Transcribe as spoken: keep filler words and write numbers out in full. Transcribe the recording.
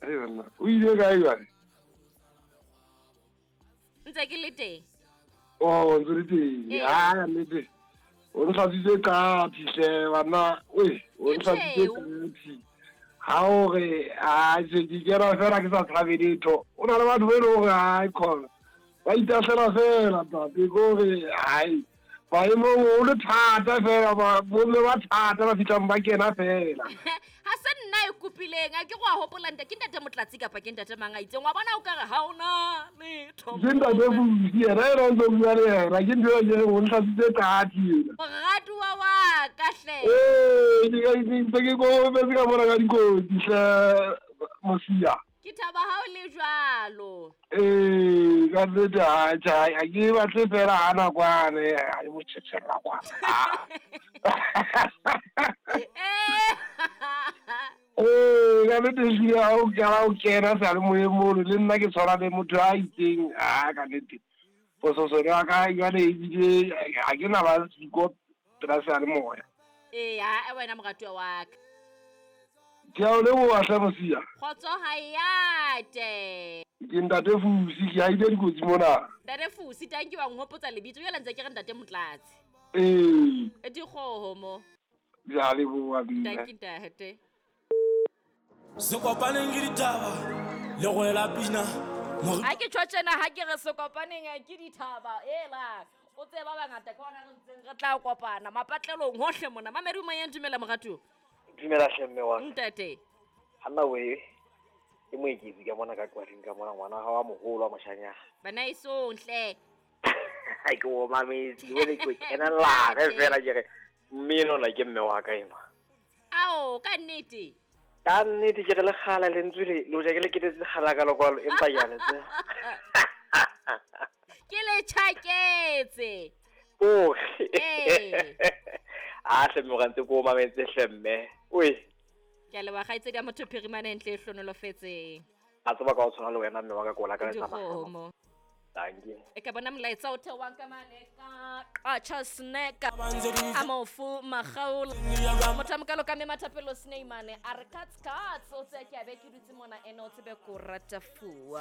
Ai banna, o ile kae jwale? Ntse ke le teng. Oh, ntse le teng. Ee. Ah, nnete. O ntlhatswitse qatsi hle banna. Oi, o Ke ntlhatswitse tjheu. qatsi. Ha o re a se ke kena fela ke sa tshabe letho. O na le batho ba e leng hore hai khona. Ba itahlela fela ntate ko re hai. Maemong o le thata fela ba bomme ba thata ba fihlang ba kena fela. Ha se nna e kopileng, a ke go a hopola ntate, ke ntate Motlatsi kapa ke ntate mang a itseng. Wa bona o ka re ha ona letho. Ke ntate Fusi yena ena ntse o bua le yena, ke ntho eo ke reng o ntlhatswitse qatsi ena. Moratuwa wa ka hle. Ee, ke ka- ke ntse ke kokobetse ka mona ka dikotsi hle Mosia. Ke thaba ha o le jwalo. Ee, ka nnete ha tjhe, ha ke batle fela ha nakwane, ha e motjhetjhella kwana. Eh. Ee, ka nnete ehlile ha o qala o kena seyalemoyeng mono, le nna ke tshwana le motho a itseng, ah ka nnete. Pososelo ya ka jwale ebile ha ke na ba siko pela seyalemoya. Ee, ha wena moratuwa wa ka. Ke a o leboha hle Mosia. Kgotso ha e ate. Ke ntate Fusi, ke haile dikotsi mona. Ntate Fusi, tanki wa nhopotsa lebitso, jwale ntse ke re ntate Motlatsi. Ee. E dikgoho mo. Ke a leboha mme. Tanki ntate. Se kopaneng ke ditaba le go ela pina. Mor- Ha ke tjho tjena ha ke re se kopaneng ke dithaba ela. O tseba bangata ke hona re ntseng re tla kopana mapatlelong hohle mona. Mamedi o moyeng, dumela moratuwa. Dumela hle mme wa ka. Ntate. Hanna we ke moeketsi ka mona ka Qwaring ka mona, ngwana hao wa moholo wa moshanyana. Bana esong hle. Ha ke o mametse, ke bone ke o kenella ge fela ke re mme enwa ke mme wa ka enwa. Ao, ka nnete. Ka nnete ke re le kgala lentswe le, le hoja ke le ketetse kgala ka lekwalo, empa ke a le tseba. Ke le tjhaketse. Oge. Ee. A hle mme wa ka ntse ke o mametse hle mme. Oi. Ke a leboha kgaitsedi ya motho phirimane ntle e hlonolofetseng. A tseba ka o tshwana le wena mme wa ka ke o lakaletsa mahlohonolo. Dikgomo. Dankie. E ka bona molaetsa o theohang ka mane ka Qacha Snack. A mofu Makgaola. Motho a mokalo ka mme Mathapelo Sneimane a re cuts cuts o tse ke a be ke dutse mona ene o tsebe ko rata fuwa.